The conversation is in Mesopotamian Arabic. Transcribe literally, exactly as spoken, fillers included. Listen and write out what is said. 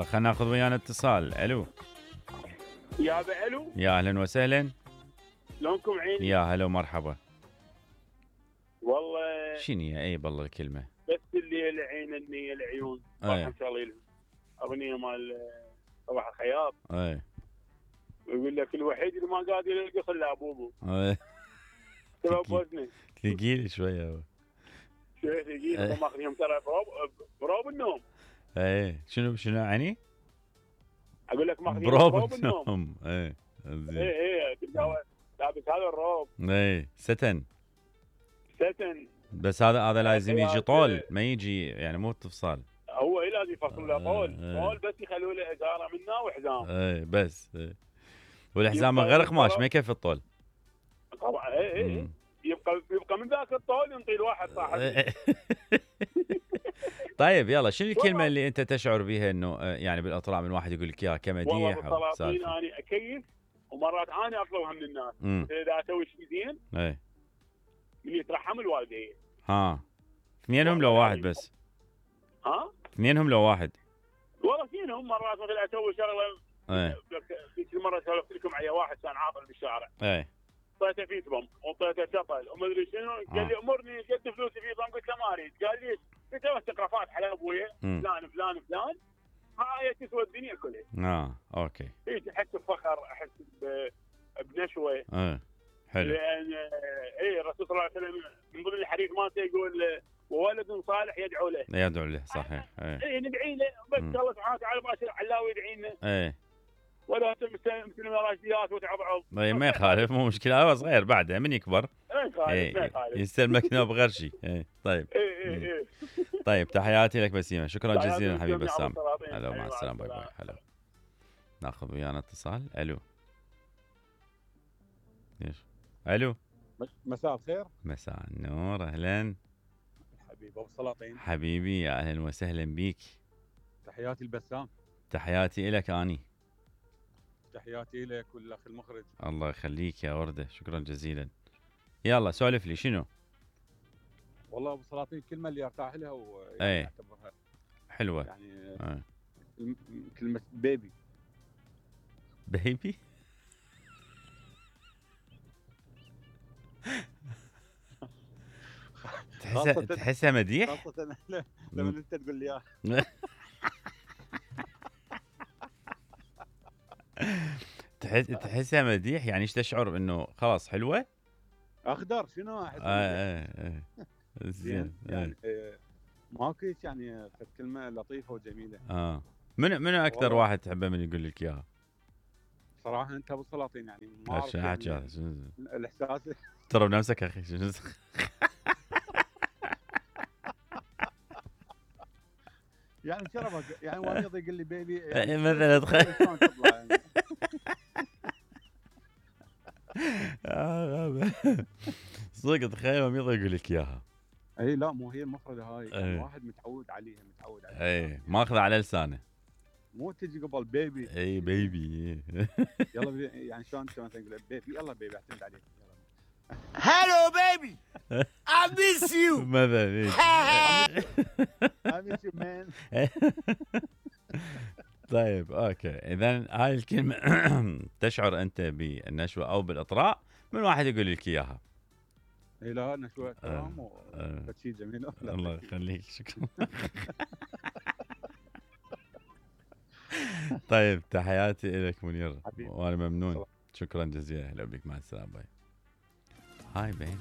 يلا خلينا ناخذ ويانا اتصال. الو يا ابي الو، يا اهلا وسهلا. شلونكم عيني؟ يا هلا ومرحبا. والله شنو يا اي بالله الكلمه؟ بس الليل عين النية العيون راح اي نشغل لهم اغنيه مال صباح الخياط، اي ويقول لك الوحيد اللي ما قادر يلقى الا ابوبو اي سبب وزنه. ثقيل شويه. شويه ثقيل، هم ماخذينهم ترى بروب بروب النوم. اي شنو شنو يعني؟ اقول لك ماخذينهم بروب بروب النوم. النوم. اي زين. اي اي تلقاه لابس هذا الروب اي ستن. ستن. بس هذا هذا لازم يجي طول، ما يجي يعني مو تفصال. هو اي لازم يفصل له طول، آه، طول بس يخلوا له ازاره منه وحزام. اي بس اي. والحزام من غير قماش ما يكفي الطول. طبعا اي اي يبقى يبقى من ذاك الطول ينطي الواحد صاحب. طيب يلا شنو الكلمه اللي انت تشعر بها انه يعني بالاطراء من واحد يقول لك اياها كمديح والله او بالسلاطين سالفه؟ انا اكيف ومرات انا اطلبها من الناس. امم اذا اسوي شيء زين اي من يترحم الوالدين. ها اثنينهم لو واحد بس؟ ها اثنينهم لو واحد؟ والله اثنينهم. مرات مثلا اسوي شغله اي في كل مره سولفت لكم على واحد كان عاطل بالشارع، اي اعطيته فيس بوم واعطيته شطل وما ادري شنو، قال لي امرني قد فلوسي فيس بوم، قلت له ما اريد، قال لي قلت له استقرافات حلال ابويا فلان فلان فلان، هاي تسوى الدنيا كلها. اه اوكي. اي احس بفخر، احس ب- بنشوه. اي حلو. لان اي الرسول صلى الله عليه وسلم من ضمن الحديث مالته يقول وولد صالح يدعو له. يدعو له صحيح. اي اي ندعي له بس الله سبحانه وتعالى باشر علاوي يدعي لنا. اي ولا مثل راشديات وتعضعض. اي ما يخالف، مو مشكله، هو صغير بعده من يكبر ما يخالف ما يخالف يستلمك نوب غير شيء. اي طيب. اي اي اي طيب تحياتي لك بسيمه، شكرا تحياتي جزيلا لكم حبيب يا بسام. أبو السلاطين. هلا مع أيوة، السلامه، باي مع باي. السلامة. هلا. ناخذ ويانا اتصال. الو ليش؟ الو مساء الخير. مساء النور، اهلا حبيبي ابو السلاطين، حبيبي، يا اهلا وسهلا بيك. تحياتي البسام. تحياتي لك اني. تحياتي لك والاخ المخرج. الله يخليك يا ورده، شكرا جزيلا. يلا سولف لي شنو؟ والله ابو السلاطين الكلمه اللي ارتاح لها ويعني ايه اعتبرها حلوه. يعني اه. كلمه بيبي. بيبي تحسها تحسها مديح؟ خاصه لما انت تقول لي اياها. تحس تحسها مديح يعني ايش تشعر انه خلاص حلوه؟ اخضر شنو احس. اه اه اه زين. يعني آه ماكو هيك يعني كلمه لطيفه وجميله. اه منو منو اكثر واحد تحبه من يقول لك اياها؟ صراحه انت ابو السلاطين يعني ما اعرف شنو حكي هذا؟ الاحساس. ترى بنفسك اخي. شنو يعني شرفك يعني واميض يقول لي بيبي يعني مثلا تخيل صدق تخيل واميض يقول لك اياها. اي لا مو هي المفردة هاي يعني واحد متعود عليها متعود عليها. اي ماخذه على لسانه، مو تجي قبل بيبي. اي بيبي. يلا يعني شلون شلون تقول بيبي يلا بيبي اعتمد عليك. هلو بيبي I miss you مثلا I miss you man. طيب اوكي، اذا هاي الكلمه تشعر انت بالنشوه او بالاطراء من واحد يقول لك اياها. اي لا نشوه احترام وشيء جميل. الله يخليك، شكرا. طيب تحياتي لك منير وانا ممنون، شكرا جزيلا. هلا بك، مع السلامه. باي. هاي بين